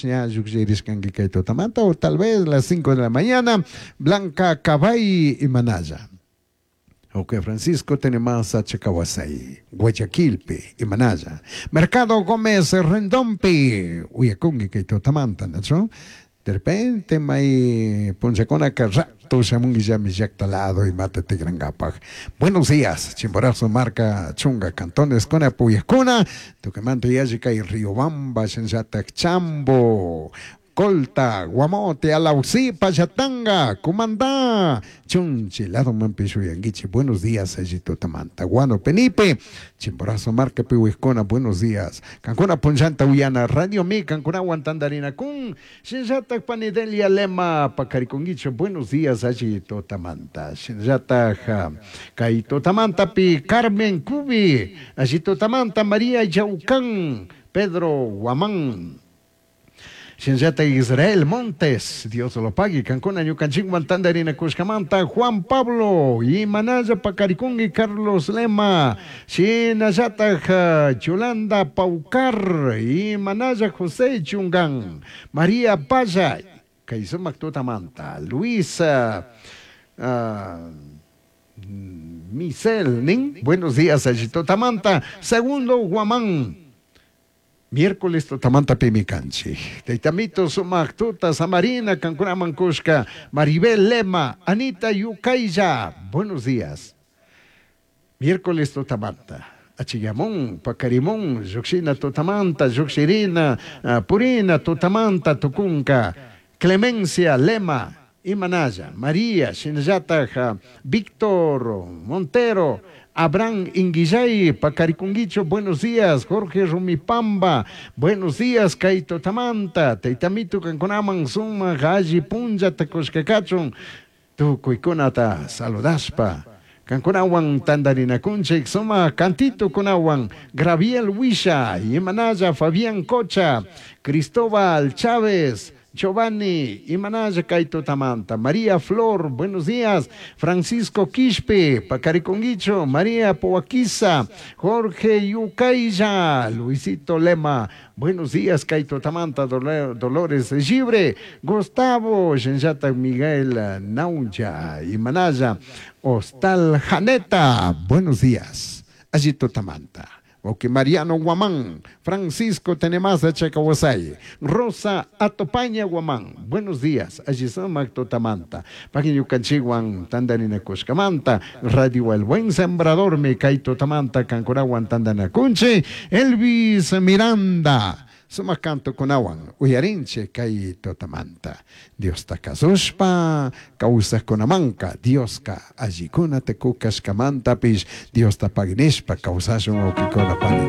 Ña llukllirishkanki kay tutamanta o tal vez las 5 de la mañana. Blanca Cabay Imanaya. Ok, Francisco Tenemasa Chacawasay, Guayaquilpi, Imanaya. Mercado Gómez Rendompi, uyakunki kay tutamanta, ¿no? De repente may punchakunaka rato shamunki llami llakta lado imata tikrankapaj. Buenos días, Chimborazo marca chunga cantones kuna puyakuna, tukuymanta yalli kay Riobamba, shinallatak Chambo, Colta, Guamote, Alausí, Pallatanga, Cumandá, Chunchi, ladomanpish uyankichik. Buenos días, alli tutamanta. Guano Penipe, Chimborazo marca piwikuna, buenos días. Kankuna punllanta uyana Radio Mi, kankunawan tantarinakun, shinallatak Panidelia Lema, pakarikunkichik, buenos días, alli tutamanta. Shinallatak kay tutamantapi Carmen Cubi, alli tutamanta María Yaucán, Pedro Guamán. Shinallatak Israel Montes, Dios lo pague, kankuna ñukanchikwan tantarinakushkamanta, Juan Pablo, Imanaya Pacarikungi, Carlos Lema, shinallatak Yolanda Paucar, Imanaya José Chungan, María Paya, kay sumak tutamanta, Luisa Misel Nin, buenos días, alli tutamanta, Segundo Guamán, Miércoles tutamanta pimi kanchik. Taytamito sumak tuta samarina kankunaman kushka, Maribel Lema, Anita Yucaya, buenos días. Miércoles tutamanta, Achiyamun, Pacarimun, Yuxina tutamanta, Yuxirina, Purina tutamanta, Tucunca, Clemencia Lema, Imanaya, María, Shinallataja, Víctor Montero, Abraham Inguillay, Pacarikunguicho, buenos días, Jorge Rumipamba, buenos días, Kaito Tamanta, Teitamito Kankunaman, Suma, Galli Punja, Takushkakachun, Tukuykunata, saludaspa, Kankunawan tantarinakunchik, suma cantito kunawan, Graviel Huisha, Imanaya, Fabián Cocha, Cristóbal Chávez, Giovanni, Imanaya Kaito Tamanta, María Flor, buenos días, Francisco Quispe, Pacariconguicho, María Poaquiza, Jorge Yucaya, Luisito Lema, buenos días, Kaito Tamanta, Dolores Gibre, Gustavo, Shenjata Miguel Nauya, Imanaya, Hostal Janeta, buenos días, Allito Tamanta. Ok, Mariano Guamán, Francisco Tenemasa Chacahuasay, Rosa Atopaña Guamán, buenos días, allí sumak tutamanta, Paquiñucanchiguan tandarinakushkamanta, Radio El Buen Sembrador, me kaito tamanta, kankunawan tandanakunchi, Elvis Miranda, sumak canto kunawan, uyarinche kay tutamanta, Dios kasushpa, kawsajkunamanka, Dioska allikuna tukukashkamantapish, Diosta paginishpa kawsashun wawkikuna.